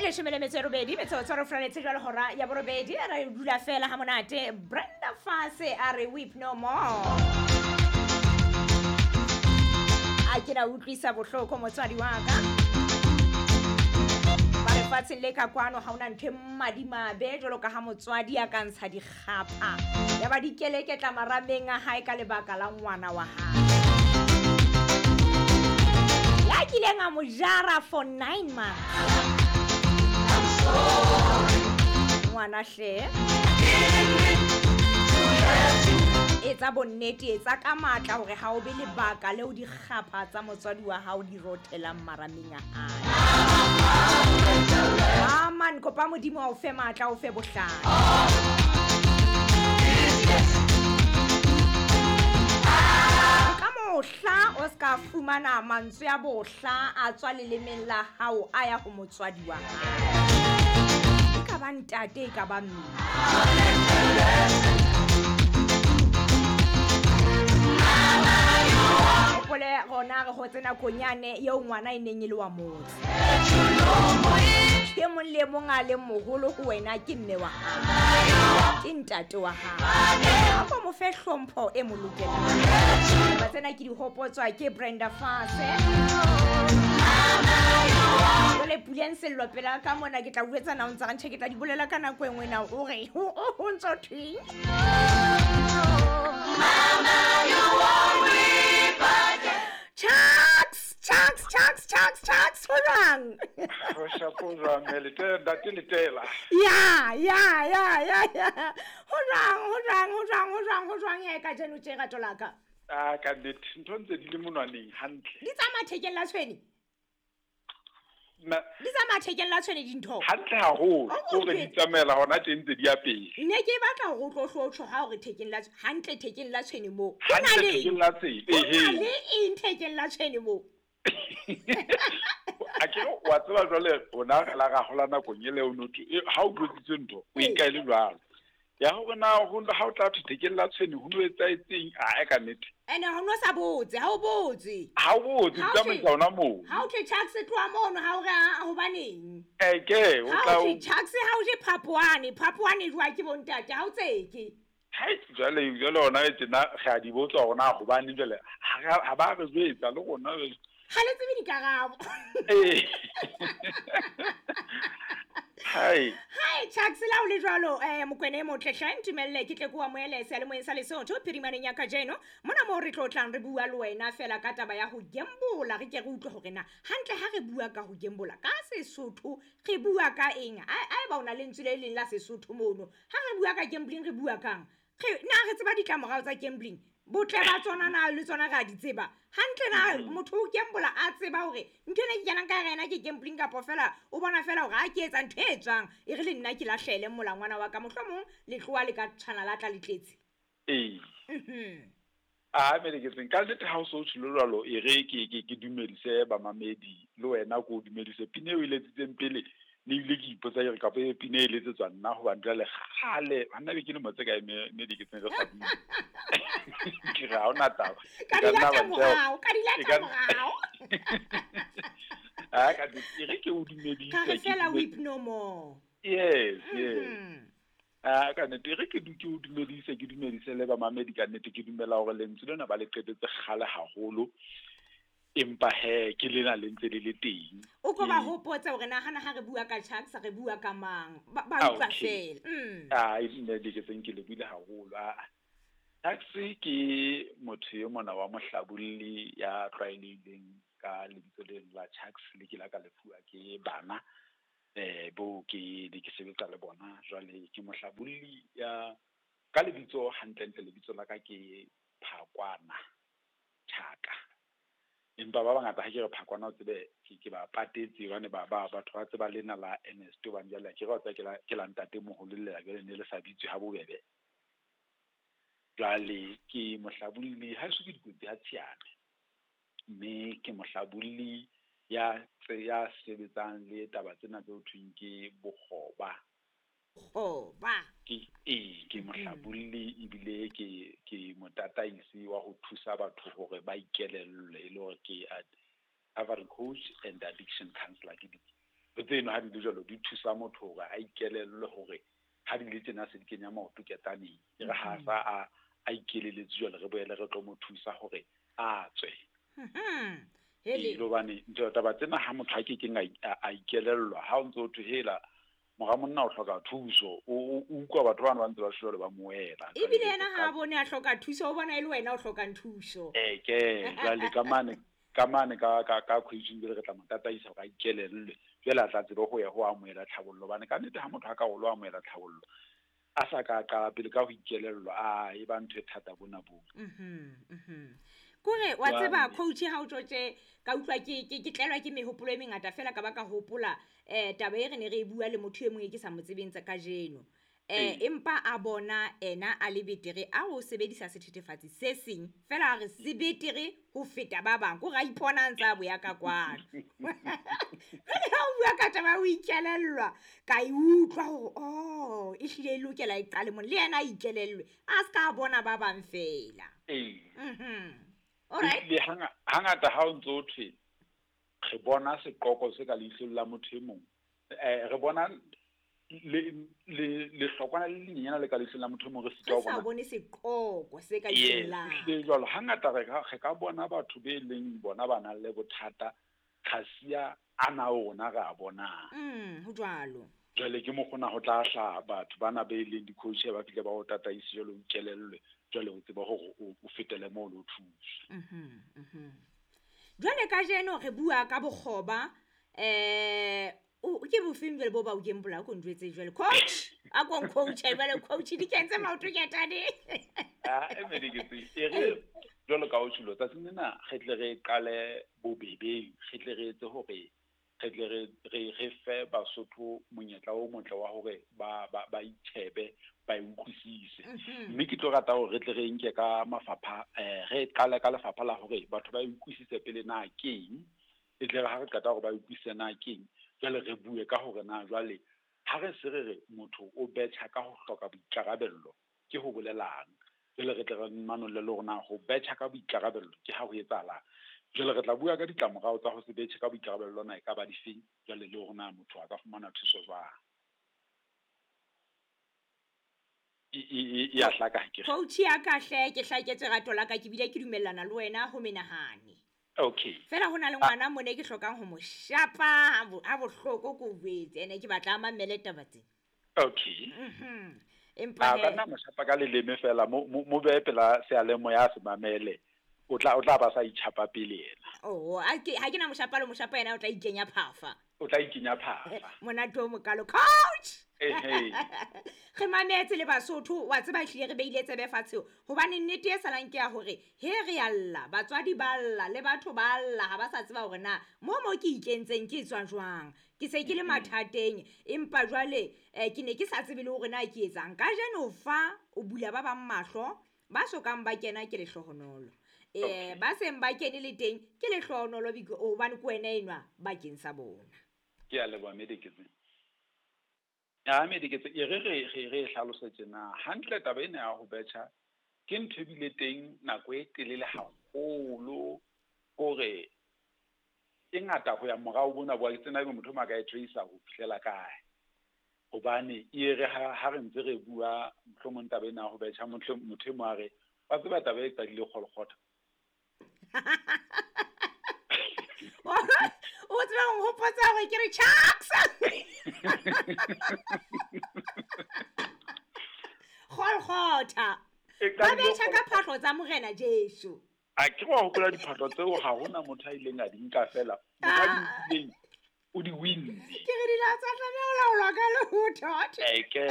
18 metsotso re furaletse jwale hora ya borobedi, re dula fela ha monate. Brenda Fassie a re weep no more. A ke na utlwisa bohloko motswadi wa ka. Ba lefatsheng le ka kwano ha hona ntho e madimabe jwalo ka ha motswadi a ka ntsha dikgapha ya ba dikeleketla marameng a hae ka lebaka la ngwana wa hae ya kileng a mo jara for 9 months. Ngwana hle, etsa bonnete, etsa ka matla hore ha o be lebaka leo dikgapha tsa motswadi wa hao di rothelang marameng a hae. Aman, kopa Modimo a o fe matla, o fe bohlale. Ka mohla o ska fumana mantswe a bohla a tswa lelemeng la hao a ya ho motswadi wa hao. E ka ba ntate, e ka ba mme. Hopole rona re hotse nakong yane eo ngwana e neng e le wa motse. E mong le mong a leng moholo ho wena ke mme wa hao, ke ntate wa hao. Ako mo fe hlompho e mo lokelang. Ba tsena ke di hopotswa ke Brenda Fassie. Jwale Puleng Sello pela ka mona ke tla o jwetsa na o ntsa ntjhe, ke tla di bolela ka nako e nngwe na o re o ntso thweng. Chucks, Chucks, Chucks, Chucks, Chucks, ho jwang? Ho shapo jwang, mme letela, ntate letela. Ya, ya, ya, ya, ya. Ho jwang, ho jwang, ho jwang, ho jwang, ho jwang he kajeno tje rato la ka? Ah, ka nnete, ntho ntse di le monwaneng hantle. Di tsamaya thekeng la tshwene? Di tsamaya thekeng la tshwene dintho? Hantle haholo, Oh, hore di tsamaela hona teng ntse di ya pele. Ne ke batla hore o tlo hlotjho ha hore thekeng la hantle thekeng la tshwene moo. Hantle thekeng la tshwene, Ho na ehe. le eng thekeng la tshwene moo? A ke wa tseba jwale rona re la ra hola nakong ele o no thwe, ha o tlotsitse ntho, o e nka e le jwalo. Ya hore na ha o tla thwe thekeng la tshwene ho no etsahetseng, ah, e ka nnete. Ene ha o no sa botse, ha o botse. Ha o botse, Ha o tsamaisa thwe- hona moo. Ha o thwe Chucks tloha mono, ha o re, ah, hobaneng? Ke, o Ha tla o o thwe Chucks ha o je phapoane, phapoane e jowa ke bontate, ha o tseke. Hai, jwale, jwale hona e tjena, re a di botsa hore na hobaneng jwale, ha ba re jwetsa le rona jwale. Ha le tsebe dikarabo. Ee. Hai. Hai, Chucks, la o le jwalo, Mokwena e motle hle, ntumelle ke tle ke o amohele seyalemoyeng sa Lesotho phirimaneng ya kajeno. Mona moo re tlo tlang re bua le wena fela ka taba ya ho gembola, re ke re utlwe hore na hantle ha re bua ka ho gembola ka Sesotho re bua ka eng? A eba o na lentswe le leng la Sesotho mono. Ha re bua ka gambling re bua kang? Re na re tseba ditlamorao tsa gambling? Botle ba tsona na le tsona re a di tseba? Hantle na motho o gembola a tseba hore ntho ena ke kenang ka hara yena ke gambling, kapa fela o bona fela hore ha ke etsa ntho e tswang e re le nna ke lahlele molangwana wa ka, mohlomong letloa le ka tshwana la tla le tletse. Ee. A me ke tseng ka nnete ha o so tsholo jwalo, e re ke dumedise bamamedi le wena ko o dumedise pina eo e letsitseng pele. Ne ebile ke ipotsa ke re kapa e pina e letsetswa nna hobane jwale kgale, ha nna be ke lemo tse kae me di ke tseng re sa bue. Ke re ha hona taba. Ka E ka di nna lata wa ntjha- morao, ka di e lata ka- morao. Ah, ka di-, e re ke o dumedise, Ka re ke fela dume- weep no more. Yes, yes. Ah, ka nnete, e re ke ke o dumedise, ke dumedise le bamamedi ka nnete, ke dumela hore lentswe lena ba le qetetse kgale haholo. Empa he, ke lena le ntse le le teng. O ko ba Ee. hopotse hore na hana ha re bua ka Chucks, re bua ka mang? Ba Ah, utlwa okay. fela. Ah, e nne le ke tseng ke le buile haholo. Ah, Chucks ke motho e mona wa mohlabolli ya tlwaelehileng ka lebitso le la Chucks, le ke la ka lefuwa ke bana, bo ke ne ke sebetsa le bona. Jwale ke mohlabolli ya ka lebitso hantlentle, lebitso la ka ke Phakwana Chaka. Empa ba bangata ha ke re Phakwana o tsebe ke ba patetse hobane batho ba tseba lena la Ernest, hobane jwale ke re wa tseba ke la ntate moholo le la jwale ne le sa bitswe ha bobebe. Jwale ke mohlabolli, ha eso ke dikotsi ha Tshiame, mme ke mohlabolli ya sebetsang le taba tsena tse ho thweng ke bokgoba. Bokgoba. Ke, ee, ke mohlabolli ebile ke motataisi wa ho thusa batho hore ba ikelellwe, e le hore ke recovery coach and addiction counselor. Ke tseno ha di le jwalo di thusa motho hore a ikelellwe hore ha di le tjena se di kenya maoto ketaneng. E re ha sa a ikeleletse jwale re boele re tlo mo thusa hore a tswe. Hele. Hobane ntho taba tsena ha motho a kekeng a ikelellwa, ha o ntso o thwe hela mora monna o hloka thuso, o utlwa batho bana ba ntse ba shwele ba moela. Ebile yena ha a bone a hloka thuso, o bona e le wena o hlokang thuso. Ke jwale ka mane ka coaching jwale re tla mo tataisa hore a ikelellwe, jwale a tla tsebe ho ya ho amohela tlhabollo. Hobane ka nnete ha motho a ka ho lo amohela tlhabollo a sa ka qala pele ka ho ikelellwa, a e ba ntho e thata bona bo. Kore wa tseba coach ha o tjotje ka utlwa ke tlelwa ke mehopolo e mengata fela ka ba ka hopola taba e re ne re e bua le motho e mong e ke sa mo tsebeng tsa kajeno. Empa a bona ena a le betere a o sebedisa sethethefatsi se seng fela a re se betere ho feta ba bang, ko ra ipona ntse a boya ka kwano. Jwale ha o bua ka taba ya ho ikelellwa, ka e utlwa hore oh e hlile e lokela e qale mona, le yena a ikelellwe a se ka bona ba bang fela. Alright. Le hangata ha o ntso thwe re bona seqoko se ka leihlong la motho e mong, re bona le hlokwana le lenyenyana le ka leihlong la motho e mong, re sitwa ho bona. Re sa bone seqoko se ka leihlong la. Le jwalo hangata re ka bona batho be leng bona ba nang le bothata kgasia ana rona re a bonang. Ho jwalo. Jwale ke mokgona ho tla hla batho bana be leng di-coach ba fihle ba o tataise jwale o ikelellwe, jwale o tseba hore o fetele moo le o thusa. Jwale kajeno re bua ka bokgoba, ke bofeng jwale bo ba o gembola ko njwetse jwale coach, a ko coach jwale coach di kentse maoto ketane. E re jwalo ka o tjholo tsatsing lena re tle re qale bobebeng, re tle re etse hore re tle re fe Basotho monyetla o motle wa hore ba itjhebe, ba e utlwisise. Mme ke tlo rata hore re tle re nke ka mafapha, re qale ka lefapha la hore batho ba e utlwisise pele na keng, e tle re ha re qeta hore ba e utlwisise na keng, jwale re bue ka hore na jwale ha re se re re motho o betjha ka ho hloka boikarabello ke ho bolelang. Jwale re tle re manolle le hore na ho betjha ka boikarabello ke ha ho etsahalang. Jwale re tla bua ka ditlamorao tsa ho se betjhe ka boikarabello na e ka ba difeng, jwale le hore na motho a ka fumana thuso jwang. E ya hlaka ha ke re. Coach ya ka hle ke hlaketse rato la ka, ke bile ke dumellana le wena ho menahane. Okay. Fela ho na le ngwana mone ke hlokang ho mo shapa ha bohloko ko boetse, ene ke batla a mamele taba tse. Okay. Empa ka nna mo shapa ka leleme fela, mo behe pela seyalemoya se mamele. O tla ba sa itjhapa pele yena. Oh, ha ke na moshapa le moshapa yena o tla ikenya phafa. O tla ikenya phafa. Monate o mokalo coach. Ehe. Re mametse le Basotho, wa tseba hlile re beile tsebe fatshe hobane nnete e salang ke ya hore he re a lla, batswadi ba lla le batho ba lla ha ba sa tseba hore na mo ke ikentseng ke tswa jwang. Ke se ke le mathateng empa jwale ke ne ke sa tsebe le hore na ke etsang. Kajeno fa o bula ba bang mahlo, ba sokang ba kena ke lehlohonolo. Ba seng ba kene le teng ke lehlohonolo hobane ke wena enwa bakeng sa bona. Ke a leboha Mediketse. Ya Mediketse e re re hlalosetse na hantle taba ena ya ho betjha ke ntho e bile teng nako e telele haholo, hore e ngata ho ya morao bona bo tsena ebe motho ma ka e tracer ho fihlela kae. Hobane e re ha re ntse re bua mohlomong taba ena ya ho betjha, motho e mong a re wa tseba taba e qadile Kgolkgotha. O tseba ho hopotsa hore ke re Chucks. Kgolkgotha. Ba betjha ka phahlo tsa Morena Jesu. A ke wa hopola diphahlo tseo ha hona motho a ileng a di nka fela. Motho a di nkileng o di winne. Ke re di la tsa tlameha ho laolwa ka lehotho. Eke.